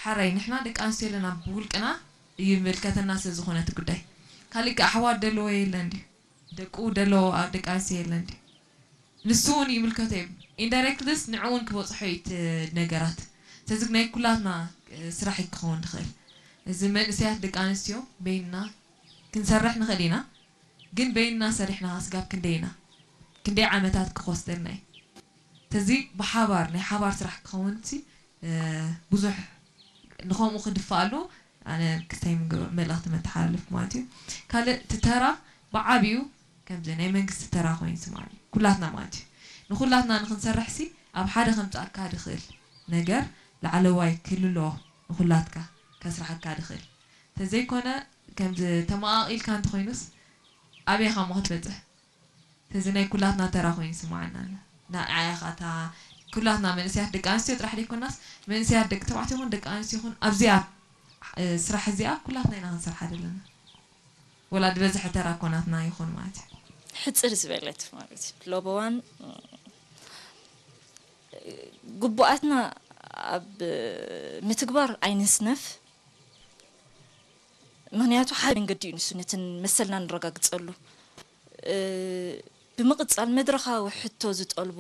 ሓራይ ንሕና ደቂ ኣንስትዮ ኣለና ብውልቅና ይምልከተና ስለ ዝኾነ እቲ ጉዳይ። ካልእ ከ ኣሕዋት ደለዎ የለን ድዩ? ደቁ ደለዎ ደቂ ኣንስትዮ የለን ድዩ? ንሱ እውን ይምልከቶ እዩ። ኢንዳይሬክትሊስ ንዕኡ እውን ክበፅሖ እዩ እቲ ነገራት። ስለዚ ናይ ኩላትና ስራሕ እዩ ክኸውን ዝኽእል። እዚ መንእሰያት ደቂ ኣንስትዮ በይንና ክንሰርሕ ንኽእል ኢና፣ ግን በይንና ሰሪሕና ስጋብ ክንደይ ኢና? ክንደይ ዓመታት ክወስደልና እዩ? ስለዚ ብሓባር ናይ ሓባር ስራሕ ክኸውን ሲ ብዙሕ ንኸምኡ ክድፋኣሉ ኣነ ክስታይ ምግብ መልእኽቲ መተሓላለፍ ማለት እዩ። ካልእ እቲ ተራ ብዓብዩ ከምዚ ናይ መንግስቲ ተራ ኮይኑ ስማኒ ኩላትና ማለት እዩ። ንኩላትና ንክንሰርሕ ሲ ኣብ ሓደ ከምፅኣካ ድኽእል ነገር ላዕለዋይ ክልሎ ንኩላትካ ከስራሓካ ድኽእል ተዘይኮነ ከምዚ ተመቓቒልካ እንተኮይኑስ ኣበይ ኢኻ እሞ ክትበፅሕ? እዚ ናይ ኩላትና ተራ ኮይኑ ይስምዓና ኣሎ። ንዓያ ኸኣ እታ ኩላትና መንእሰያት ደቂ ኣንስትዮ ጥራሕ ዘይኮናስ መንእሰያት ደቂ ተባዕትዮ ይኹን ደቂ ኣንስትዮ ይኹን ኣብዚኣ ስራሕ እዚኣ ኩላትና ኢና ክንሰርሓ ዘለና። ወላ ዝበዝሐ ተራ እኮ ናትና ይኹን ማለት እዩ። ሕጽር ዝበለት ማለት እዩ። ሎበዋን ግቡኣትና ኣብ ምትግባር ኣይንስነፍ። ምኽንያቱ ሓደ መንገዲ እዩ ንሱ ነትን መሰልና ንረጋግፀሉ። ብምቕፃል መድረኻዊ ሕቶ ዝጠልቦ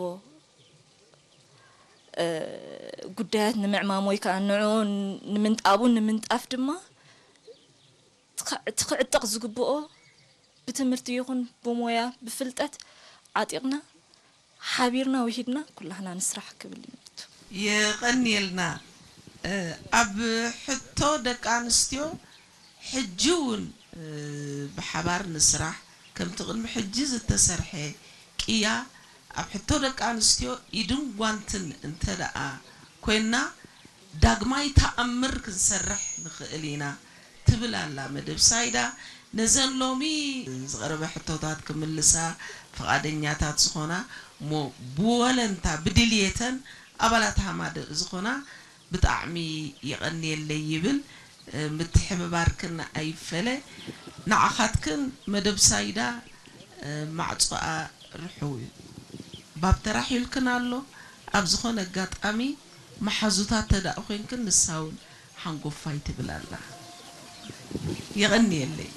ጉዳያት ንምዕማም ወይ ከዓ ንዕኡ ኣብኡ ንምንጣፍ ድማ እቲ ክዕጠቕ ዝግብኦ ብትምህርቲ ይኹን ብሞያ ብፍልጠት ዓጢቕና ሓቢርና ውሂድና ኩላህና ንስራሕ ክብል እዩ። የቐንየልና። ኣብ ሕቶ ደቂ ኣንስትዮ ሕጂ እውን ብሓባር ንስራሕ፣ ከምቲ ቅድሚ ሕጂ ዝተሰርሐ ቅያ ኣብ ሕቶ ደቂ ኣንስትዮ ኢድን ጓንትን እንተ ደኣ ኮይንና፣ ዳግማይ ተኣምር ክንሰርሕ ንኽእል ኢና ትብል ኣላ መደብ ሳይዳ። ነዘን ሎሚ ዝቐረበ ሕቶታት ክምልሳ ፍቓደኛታት ዝኾና እሞ ብወለንታ ብድልየተን ኣባላት ሃማደእ ዝኾና ብጣዕሚ የቐንየለይ ይብል። ምትሕብባርክን ኣይፈለ። ንዓኻትክን መደብ ሳይዳ ማዕጾኣ ርሑው እዩ። ባብ ተራሒልክን ኣሎ። ኣብ ዝኾነ ኣጋጣሚ መሓዙታት ተዳእ ኮይንክን ንሳ እውን ሓንጎፋይ ትብል ኣላ። የቐንየለይ።